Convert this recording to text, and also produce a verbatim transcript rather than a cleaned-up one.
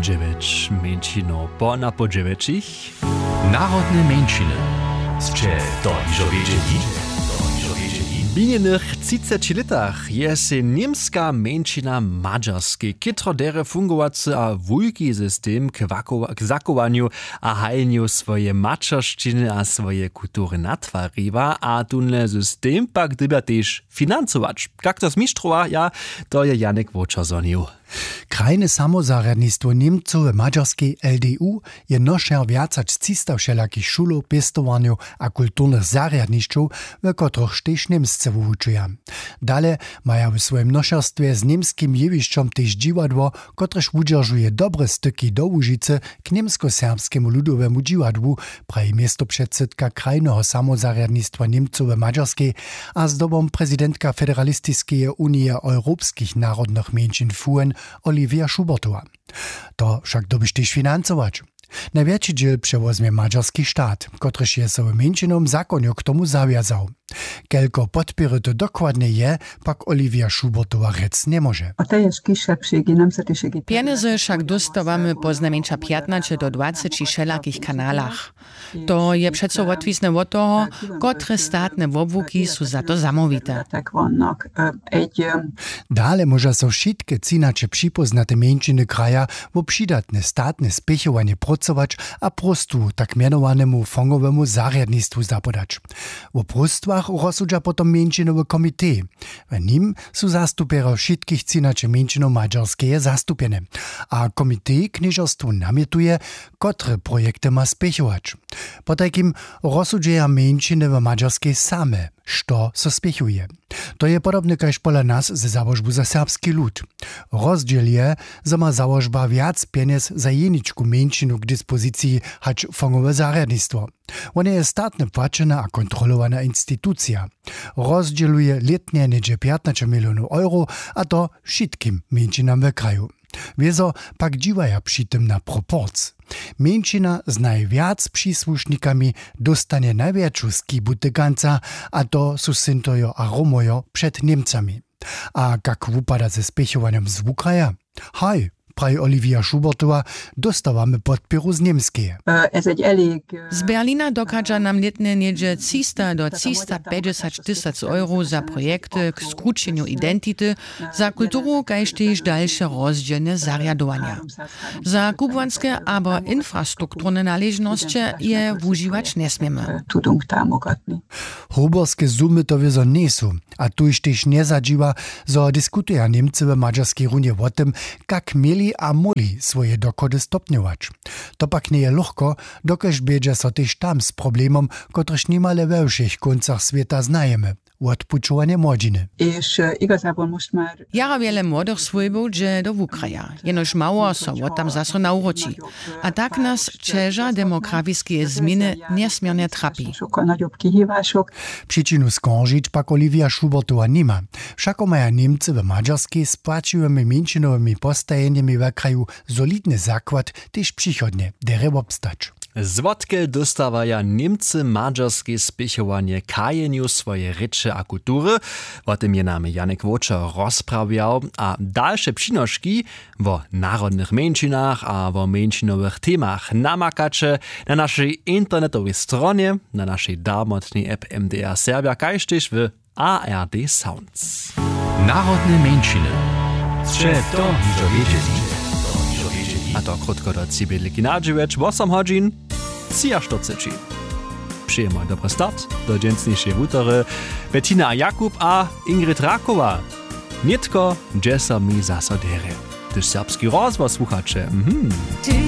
Dźewjeć mjeńšinow po na po dźewjećich. Narodne mjeńšiny. Sće to hižo wědźeli? W minjenych třiceći lětach je sej němska mjeńšina w Madźarskej chětro derje fungowacy a wulki system k zachowanju a hajenju swojeje maćeršćiny a swojeje kultury natwariła a tónle system pak dyrbja tež financować. Kak to zmištrowa ja, to je Janek Wočer zhonił. Krajne samozarjadnistwo Němcow w Madźarskej, L D U, je nošer wjac hač třista wšelakich šulow, pěstowarnjow a kulturnych zarjadnišćow, w kotrychž tež Němsce wuwučuja. Dale maja w swojim nošerstwje z němskim jewišćom tež dźiwadło, kotrež wudźeržuje dobre styki do Łužicy k němskoserbskemu ludowemu dźiwadłu, praji městopředsydka krajneho samozarjadnistwa Němcow w Madźarskej a zdobom prezidentka Federalistiskeje unije europskich narodnych mjeńšin FUEN Olivia Schubertowa. To wšak dyrbiš tež financować. Najwjetši dźěl přewozmje madźarski stat, kotryž je so w mjeńšinowym zakonju k tomu zawjazał. Kelko podpěry to dokładnje je, pak Olivia Schubertowa rjec njemóže. Pjenjezy wšak dóstawamy poznajmjeńša pjatnaće do dwaceći wšelakich kanalach. To je přeco wotwisne wot toho, kotre statne wobłuki su za to zamołwite. Dale móža so wšitke třinaće připóznate mjeńšiny kraja wo přidatne statne spěchowanje prócować a próstwu tak mjenowanemu fongowemu zarjadnistwu zapodać. Wo próstwach rozsudźa potom mjeńšinowy komitej. W nim su zastupjerjo wšitkich třinaće mjeńšinow madźarskeje zastupjene. A komitej knježerstwu namjetuje, kotre projekty ma spěchować. Potajkim rozsudźeja mjeńšiny w madźarskej same, što so spěchuje. To je podobne kaž pola nas ze załožbu za serbski lud. Rozdźěl je, zo ma załožba wjac pjenjez za jeničku mjeńšinu k dispoziciji hač fongowe zarjadnistwo. Wone je statne płaćena a kontrolowana institucija. Rozdźěluje lětnje něhdźe pjatnaće milionow euro, a to wšitkim mjeńšinam w kraju. Wězo pak dźiwaja při tym na proporc. Mjeńšina z najwjac přisłušnikami dóstanje najwjetšu skibu tykanca, a to su Sintojo a Romojo před Němcami. A kak wupada ze spěchowanjom z wukraja? Haj, praji Olivia Schubertowa, dóstawamy podpěru z Němskeje. Z Berlina dochadźa nam lětnje něhdźe třista do třista pjećdźesać tysac euro za projekty k skrućenju identity, za kulturu kaž tež dalše rozdźělne zarjadowanja. Za kubłanske abo infrastrukturne naležnosće je wužiwać njesměmy. Hoberske sumy to wězo njejsu. A tuž tež njezadźiwa, zo diskutuja Němcy w madźarskej runje wo tym, kak měli a móhli swoje dochody stopnjować. To pak njeje lochko, dokelž bědźa so tež tam z problemom, kotryž nimale we wšěch kóncach swěta znajemy, wotpućowanje młodźiny. Jara wjele młodych swójbow dźe do wukraja, jenož mało so wot tam zaso nawróći. A tak nas ćeža demografiskeje změny njesměrnje trapi. Přičinu skoržić pak Olivia Schubertowa nima. Wšako maja Němcy w Madźarskej z płaćiwymi mjeńšinowymi postajenjemi w kraju solidny zakład, tež přichodnje derje wobstać. Zwotke dóstawaja Němcy w Madźarskej spěchowanje k hajenju swojeje rěče a kultury? Wo tym je nam Janek Wočer rozprawjał. A dalše přinoški wo narodnych mjeńšinach a wo mjeńšinowych temach namakaće na našej internetowej stronje, na našej darmotnej app M D R Serbja kaž tež w A R D Sounds. Narodne mjeńšiny. Sće to hižo wědźeli? A to krótko do tři bědliki na dźewjeć wosom hodźin třiaštyrceći. Přejemy dobry start do dźensnišeje wutory. Bettina a Jakub a Ingrid Rakowa. Nětko dźe so mi zaso derje, hdyž serbski rozhłos słuchaće. Mhm.